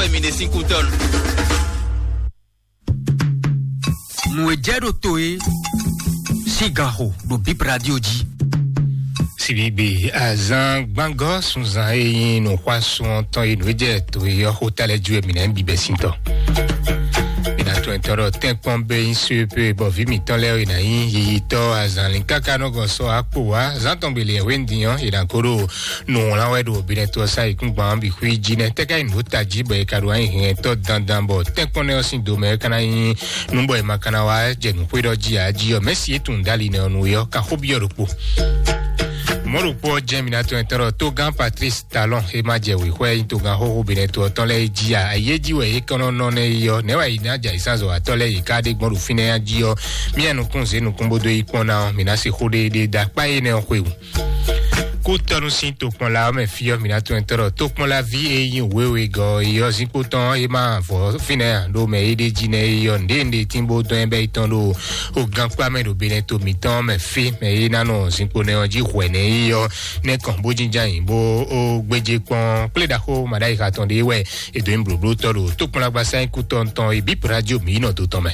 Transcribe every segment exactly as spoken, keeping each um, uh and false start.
Emi ɖe sín kútɔ́nu. Nǔ e jɛ ɖo to e sín ganxo ɖo Bip Radio jí. Sibigbe azan gbangɔ sunzan e nyi nǔxwasun ɔ́ tɔn e nǔ e jɛ to e ɔ́ xó ta lɛ́ ju e mǐ ná bibɛ sín tɔ. Mǐ ná tɔn tɔn ɖɔ tɛ́nkpɔ́n bɛ nyi suepe bɔ vǐ mǐtɔn lɛ́ɛ e ná nyí yiyitɔ́ azan lin káká nɔ gɔn sɔ akpo wá zan tɔn gbele hwendin ɔ́ e ná ko ɖo nǔwlán wɛ ɖo binɛ to ɔ́ sa yi kúngban ɔ́ bǐ xwí jí nɛ́ tɛ́ ká nyi nǔ ta jí bɔ e ka ɖo anyi hɛntɔ́ dandan bɔ tɛ́nkpɔ́n nɛ́ ɔ́ sín domɛ é ka ná nyí nú bɔ è ma ka ná wá jɛ nǔxwé ɖɔ jí ǎ jí ɔ́, mɛ̌si e tunwun dali nɛ́ ɔ́ nu é ɔ́, kan xó byɔ́ ɖokpo. Mɔ̌ ɖokpó ɔ́ jɛ́n mi ná tɔn ɛtɔ́ ɖɔ tógán Patrice Talon e ma jɛ wěxwɛ nyí togán xóxó Benɛto ɔ́ tɔn lɛ́ɛ é jí ǎ. Ayé jí wɛ é kɔn nɔ nɔ nɛ́ é ɔ́, nɛ̌ wɛ è nǎ jɛ ayǐsánzɔ́watɔ́ lɛ́ɛ yě ká ɖe gbɔn ɖo fínɛ́ jí ɔ́? Mía nukún zě nukún bó dó yi kpɔ́n ná ɔ́, mǐ ná se xó ɖéɖéé dó akpá énɛ́ ɔ́ xwewú. Kútɔ́nú sín tokpɔnla ɔ́ mɛ fí ɔ́, mǐ ná tɔn ɛtɔ́ ɖɔ tókpɔnlaví e nyí wěwegɔ́ é ɔ́ zinkpo tɔn é ma vɔ fínɛ́ ǎ, ɖó mɛ e ɖ'é jí nɛ́ é ɔ́, nǔɖé nǔɖé tín bó dɔn ɛ bɛ́ yi tɔn ɖo o gankpá mɛ ɖo Benɛto mǐtɔn mɛ fí, mɛ e ná nɔ zinkpo nɛ́ ɔ́ jí hwɛ̌ nɛ́ é ɔ́, nɛ́ kɔn bó jínjɔ́n ayǐ bó ó gbéjé kpɔ́n kplé ɖaxó maɖáyixa tɔn ɖé wɛ è dǒ nyi blǒblótɔ́ ɖo tókpɔnlágbasá nyíkú tɔn tɔn e bǐ Pradio mǐ yi nɔ dó tɔn mɛ.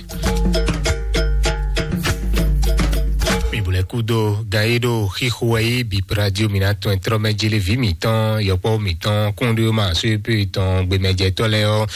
Mi bó lɛ́ kúdó gan e ɖo xixo wɛ yí bǐ Pradio mǐ ná tɔn trɔ́ mɛ jélé vǐ mǐtɔn, yɔkpɔ́ mǐtɔn, kúnɖéwéma sóyépé tɔn, gbemɛjɛtɔ́ lɛ́ɛ ɔ́,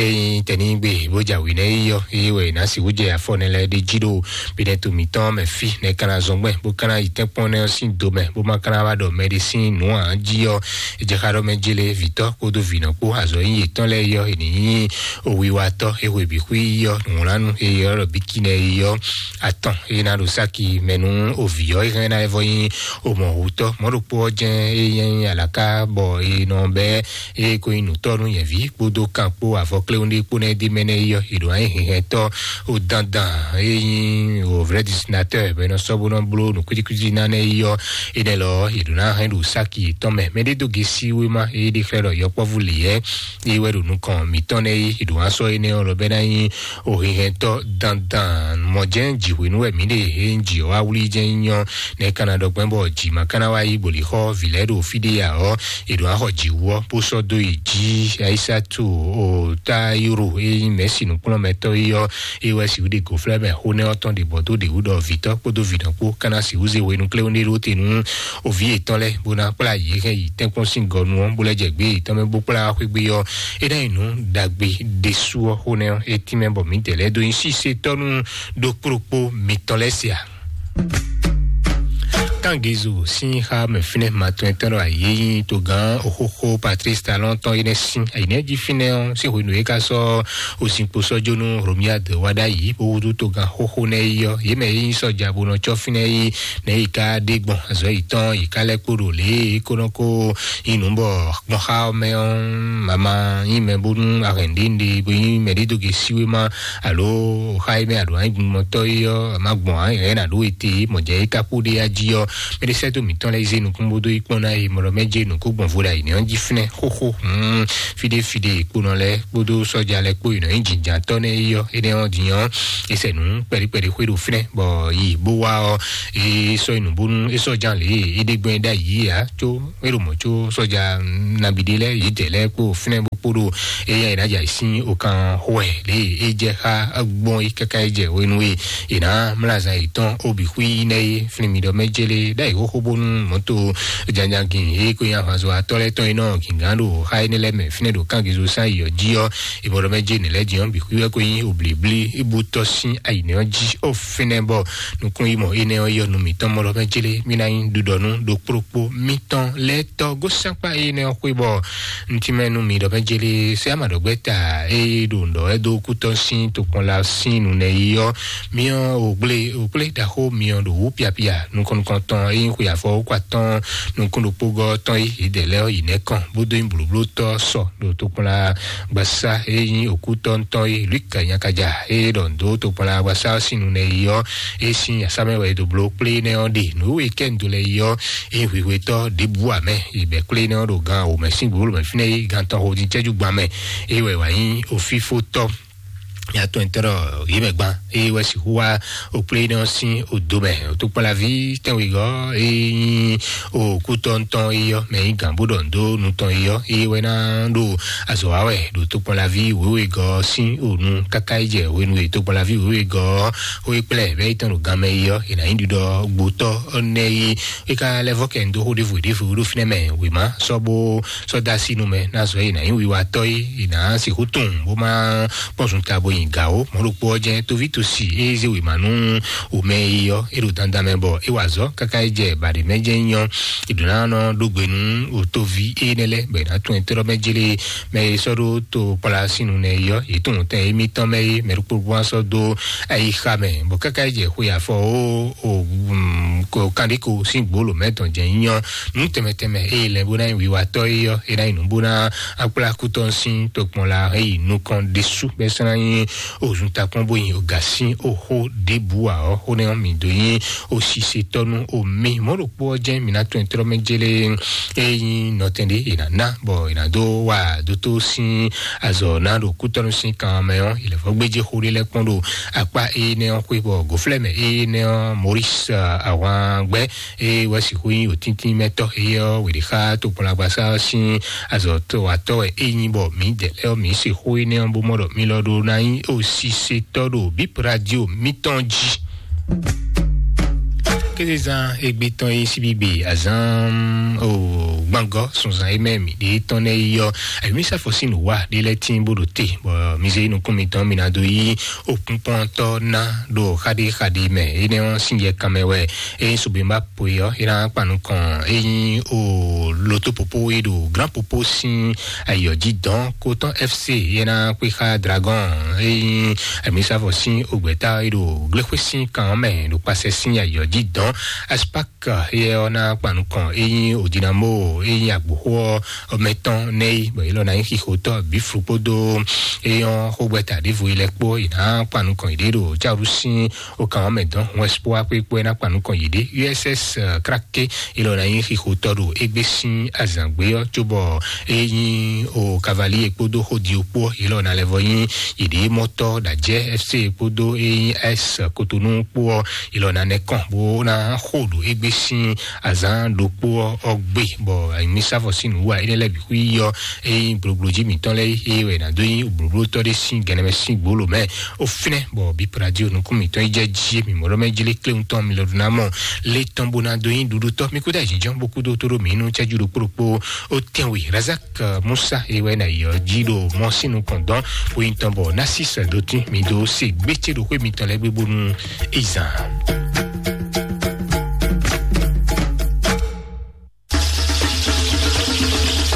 ényí tɛ̌nigbe bó jɛ awǐ nɛ́ yí ɔ́, é wɛ è nǎ sixú jɛ afɔ nɛ́ lɛ́ɛ ɖé jí ɖo Benɛto mǐtɔn mɛ fí, nɛ́ ka ná zɔn gbɛn, bó ka ná yi tɛ́nkpɔ́n nɛ́ ɔ́ sín do mɛ, bó ma ka ná wá ɖɔ mɛɖé sín nǔ ǎ jí ɔ́, é jɛ xá ɖɔ mɛ jélé vǐtɔ́ kpódó vǐnɔ kpó azɔ̌ nyí yětɔn lɛ́ɛ yí ɔ́, è nǐ nyí owiwatɔ́ e hwe bǐ xwí yí ɔ́, nǔwlánú e ylɔ́ ɖɔ bíkínɛ yí ɔ́, atɔn e ná ɖo sáki mɛ nú ovǐ ɔ́, é hɛn ná é vɔ nyí omɔ̌hutɔ́ mɔ̌ ɖokpó ɔ́ jɛ́n é nyí alǎká bɔ è nɔ bɛ́ eye ko nyí nǔtɔ́ nú nyɛ̌ví kpódó kan kpó avɔ kléwún ɖé kpó nɛ́ ɖ'é mɛ nɛ́ yi ɔ́, è ɖǒ ná nyí hɛhɛntɔ́ o dandan e nyí o vrai dessinateur bɔ è nɔ sɔ́ bó nɔ bló nǔ kwítíkwítí ná nɛ́ yi ɔ́, énɛ́ lɔ ɔ́, è ɖǒ ná hɛn ɖo sáki yětɔn mɛ. Mɛɖé dó gesi wéma e ɖe xlɛ́ ɖɔ yɔkpɔ́vú lǐyɛ́ e wɛ ɖo nukɔn mǐtɔn nɛ́ yi, è ɖǒ ná sɔ́ énɛ́ ɔ́ lɔ bɛ́ ná nyí o hɛhɛntɔ́ dandan mɔ̌ jɛ́n jǐhwenu wɛ mǐ ɖe e nyí jǐ ɔ́ wá wlí jɛ́n nyí nyɔ́ nɛ́ ka ná ɖɔ gbɛ́ bɔ jǐ ma ka ná wá yí boli xɔ vǐ lɛ́ɛ ɖo fí ɖé ǎ ɔ́, è ɖǒ ná xɔ jǐwú ɔ́ bó sɔ́ dó yi jí. Ayisatu o Tayiro e nyí mɛ̌si nǔkplɔ́nmɛtɔ́ é ɔ́, é wɛ sixú ɖe gǒflɛ́ mɛ xó nɛ́ ɔ́ tɔn ɖě bɔ dó ɖě wú ɖɔ vǐtɔ́ kpódó vǐnɔ kpó ka ná sixú zé hwenu kléwún ɖé ɖó te nú o vǐ yětɔn lɛ́ɛ bó ná kplá yě hɛn yi tɛ́nkpɔ́n sín gɔnu ɔ́, bó lɛ́ jɛ gbé yětɔn mɛ bó kplá wá xwé gbé ɔ́, é ná nyí nǔ ɖagbe ɖésú ɔ́ xó nɛ́ ɔ́, é tínmɛ bɔ mǐdɛɛ lɛ́ɛ dó nyí sísetɔ́ nú ɖokpóɖokpó mitɔn lɛ́ɛ se ǎ. Kángezo sín xá mɛ fínɛ́ ma tɔn etɔ́ ɖɔ ayé nyí togán oxóxó Patrice Talon tɔn énɛ́ sín ayǐnɛ́ jí fínɛ́ ɔ́, sín hwenu e é ka sɔ́ ozinkpo sɔ́ jó nú Romiade wá ɖ'ayǐ bó húzú togán xóxó nɛ́ yi ɔ́, yě mɛ e nyí sɔ́ja bó nɔ cɔ́ fínɛ́ yi nɛ́ yi ka ɖe gbɔn azɔ̌ yětɔn yi ka lɛ́ kpo ɖo lě e é ko nɔ ko nyí nǔ bɔ gbɔn xá ɔ́ mɛ ɔ́, mama nyí mɛ bónú ahɛn ɖé ɖé bó nyí mɛ ɖé dó ge síwéma alo xá e mɛ aɖǒ anyi gbɔngbɔntɔ́ é ɔ́, ma gbɔn ǎ, yɛ̌ nǎ ɖó ete mɔ̌ jɛ é ka kpó ɖé yá jí ɔ́, mɛɖé sɛ́ dó mǐtɔn lɛ́ɛ yi zé nukún bó dó yi kpɔ́n ná yi mɔ̌ ɖɔ mɛ jɛ nǔ kó gbɔn vo ɖo ayǐ nɛ́ ɔ́ jí fínɛ́ xóxó. Hmm, fí ɖé fí ɖé kpónɔ lɛ́ɛ kpódó sɔ́ja lɛ́ɛ kpó yi nɔ nyí jǐnjǎntɔ́ nɛ́ é ɔ́, énɛ́ ɔ́ din ɔ́, é sɛ nǔ kpɛɖí kpɛɖí xwé ɖo fínɛ́ bɔ yi bó wá ɔ́, é sɔ́ yi nǔ bónú é sɔ́ ján lě é ɖe gbɛn ɖ'ayǐ é ǎ, có é ɖo mɔ̌ có sɔ́ja nabí ɖé lɛ́ɛ yědɛɛ lɛ́ɛ kpó fínɛ́ bó kpó ɖo éyɛ́ è nǎ jɛ ayǐ sín okan xo wɛ lě e é jɛ xá gbɔn é káká é jɛ hwenu e è nǎ mlá azan yětɔn ó bǐ xwí nɛ́ é. Flín mi ɖɔ mɛ jélé ɖ'ayǐ xóxó bónú mɔ̌to jánjangin e ko nyí ahwanzɔ́watɔ́ lɛ́ɛ tɔn e nɔ gǐngán ɖo xá énɛ́ lɛ́ɛ mɛ fínɛ́ ɖo kángezo sán yi ɔ́ jí ɔ́, è mɔ ɖɔ mɛ jé nǐ lɛ́ɛ jí ɔ́ bǐ xwí wɛ ko nyí oblǐblí é bú tɔ́ sín ayǐnɛ́ ɔ́ jí ó fínɛ́ bɔ nukúnyímɔ énɛ́ ɔ́ yɔ nú mǐtɔn mɔ ɖɔ mɛ jélé mí ná nyí ɖuɖɔnú ɖokplokpo mítɔn lɛ́ɛ tɔ́ gósɛ́nkpá énɛ́ ɔ́ xwé bɔ ntí mɛ nú mi ɖɔ mɛ jélé sɛ ama ɖɔ gbɛ́ ta eye ɖo ŋɖɔ wɛ dó kútɔ́ sín tokpɔnla sín nǔnɛ yi ɔ́, miɔ ògblé ògblé ɖaxó miɔ ɖo wú piapia nukɔn nukɔn tɔn eye xwe afɔ wó kɔ atɔn nukún ɖokpó gɔ́ tɔn yi yědɛɛ lɛ́ɛ yi nɛ́ kɔn bó dó nyí blǒblótɔ́ sɔ ɖo tokpɔnla gbasá e nyí òkútɔ́ ŋutɔn e Luke nyakaja e ɖɔ ndo tokpɔnla gbasá ɔ́ sín nu nɛ yi ɔ́, e sín asámɛ wɛ e do bló kplé nɛ ɔ́ ɖe nǔ e kɛ ndo lɛ yi ɔ́, e hwihwetɔ́ ɖěbǔ amɛ e bɛ kplé nɛ ɔ́ ɖo gan wǒ mɛ sín gbǒbló mɛ fínɛ́ e gan tɔn ho din cɛ́jú gban mɛ e wɛ wǎ nyí ofífótɔ́. Atɔn tɔrɔ yě mɛ gban eye wɛ sixú wá òkplé nɔ sín òdo mɛ. Òtúkpɔnlaví tɛnwegɔ́ eye nyí òkútɔntɔn eye yɔ mɛ nyí gǎn bó ɖɔ ndo nutɔn eye yɔ eye wɛ ná ɖo azɔ wa wɛ ɖo tókpɔnlaví wěwegɔ́ sín ònu káká yi jɛ hwenu e tókpɔnlaví wěwegɔ́ wé kplɛ bɛ yi tɔn ɖo gan mɛ eye yɔ è nǎ nyí ɖiɖɔ gbotɔ nɛ yi é ká lɛ́ vɔ kɛ ndo xó ɖěvo ɖěvo ɖo fínɛ́ mɛ wěma sɔ́ bó sɔ́ dó así nú mɛ ná zɔ é nǎ nyí wiwatɔ́ é è nǎ sixú tunwun bó má kpɔ́n zunta bo nyi gǎ ó. Mɔ̌ ɖokpó ɔ́ jɛ́n tóví tosi é zé wěma nú wǒmɛ é ɔ́ é ɖo dandan mɛ bɔ é wa azɔ̌ káká é jɛ baɖě mɛ jɛ́n nyɔ́. È ɖǒ ná nɔ ɖó gbe nú wǒtóví énɛ́ lɛ́ɛ bɔ è nǎ tunwun etɔ́ɖɔ́ mɛ jélé mɛ e sɔ́ ɖó to kpla sín nu nɛ é ɔ́ yě tunwun tɛn émítɔn mɛ é mɛ ɖokpó ɖokpó wá sɔ́ dó ayixa mɛ bɔ káká é jɛ xwe afɔ ó o kanɖéko sín gbolo mɛ tɔn jɛ nyɔ́ nǔ tɛnmɛ tɛnmɛ eye lɛ bó ná nyí wiwatɔ́ é ɔ́ é ná nyí nǔ bó ná akplá kútɔ́ sín tokpɔn la é yi nukɔn ɖésú bɛ́ sɔ́ ná nyí òzun takpɔn bó nyi ògǎ sín òxó ɖěbǔ ǎ ɔ́ xó nɛ́ ɔ́ mǐ dó nyí òsisetɔ́ nú omi mɔ̌ ɖokpó ɔ́ jɛ́n mǐ ná tɔn tlɔ́ mɛ jélé é nyí nɔtɛn ɖé è nǎ ná bɔ è nǎ dó wa dótó sín azɔ̌ ná ɖo kútɔ́nú sín kan mɛ ɔ́ è lɛ̌ vɔ́ gbéjé xó ɖé lɛ́ kpɔ́n ɖo akpá énɛ́ ɔ́ xwé bɔ gǒflɛ́mɛ énɛ́ ɔ́ Maurice ahwangbɛ́ é wɛ sixú nyí òtíntín mɛtɔ́ éyɛ́ ɔ́ wěɖé xá tokpɔnlagbasá ɔ́ sín azɔ̌ tɔwatɔ́ wɛ é nyí bɔ mǐdɛɛ lɛ́ɛ ɔ́ mǐ se xó énɛ́ ɔ́ bó mɔ ɖɔ mi lɔ ɖó ná nyí òsisetɔ́ ɖo bíp radio mítɔn jí. Kézezán égbé tɔn é síbígbe azán o gbangɔ sunzan é mɛ mǐ ɖe tɔn nɛ yɔ ayɔmísàfɔ sín nǔ wa ɖé lɛ́ tín bó ɖo te bɔ mi zé nukún mitɔn mi ná dó yí òkúnkpɔntɔ ná ɖo xaɖéxaɖé mɛ énɛ́ ɔ́ sín yɛ kanmɛ wɛ é nyí sugbe má po é ɔ́ é ná kpa nukɔn é nyí o loto popo é ɖo grand popo sín ayɔ jí dɔn kotɔn fc é ná kpé xá dragon é nyí amisafɔ sín ogbɛta é ɖo gblexwe sín kan mɛ ɖo kpasɛ sín ayɔ jí dɔn aspak yɛ ɔ́ ná kpa nukɔn é nyí odinamo é nyí agboxó ɔ́ mɛtɔn nɛ yi bɔ yě lɔ ná nyí xixotɔ bíflu kpódó é nyɔ́ xógbɛta ɖěvo yi lɛ kpó yě ná kpa nukɔn yě ɖé ɖo cáɖú sín o kan ɔ́ mɛ dɔn hɔn espoir kpé kpó é ná kpa nukɔn yě ɖé uss krake é lɔ ná nyí xixotɔ ɖo égbé sín azǎngbé ɔ́ cóbɔ é nyí o cavalier kpódó xódi kpó é lɔ ná lɛ́ vɔ nyí yě ɖé mɔtɔ ɖajɛ fc kpódó é nyí s kotonu kpó ɔ́ é lɔ ná nɛ kɔn bó ná xo ɖo égbé sín azǎn ɖokpó ɔ́ ɔ́ gbé bɔ anyimísávɔ sín nǔ wa énɛ́ lɛ́ɛ bǐ xwí yɔ é nyí gblogblojí mǐtɔn lɛ́ɛ é wɛ ná dó nyí blǒblótɔ́ ɖé sín gɛnɛmɛ sín gbolo mɛ ó fínɛ́ bɔ bíp radio nukún mǐtɔn yi jɛ jí mǐ mɔ ɖɔ mɛ jlé kléwún tɔn mi lɔ ɖo ná mɔ lé tɔn bó ná dó nyí ɖuɖutɔ́ mi kúdà jínjɔ́n bó kúdó tó ɖo mǐ nú cɛ́jú ɖokpó ɖokpó ó tɛnwe razak musa é wɛ ná yɔ jí ɖo mɔ sín nukɔn dɔn bó nyí tɔn bɔ ná sí sɛdótí mi dó se gbécé ɖo xwé mitɔn lɛ́ɛ gbé bónú izan.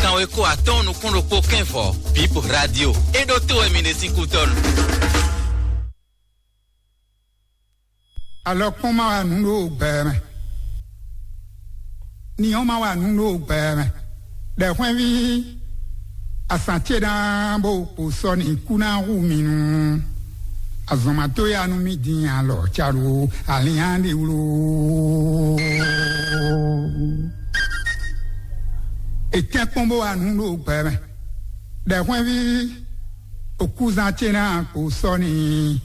Kanweko atɔ́ɔ́n nukún ɖokpó kɛ́nvɔ bíp radio é ɖó tó wɛ mi ɖe sín kútɔ́nu. Alɔkpɔ́n ma wa nǔ ɖo gbɛ mɛ. Ni ɔ́ ma wa nǔ ɖo gbɛ mɛ. Ɖɛ̌xwɛ́nví, asǎn ce ná bó kpo sɔ́ n'i kú ná hu mì nú. Azɔn ma dó ya nú mì din alɔ ca ɖo alihan ɖe wló. È tɛ́n kpɔ́n bó wa nǔ ɖo gbɛ mɛ. Ɖɛ̌xwɛ́nví, òkúzan ce ná kpo sɔ́ n'i.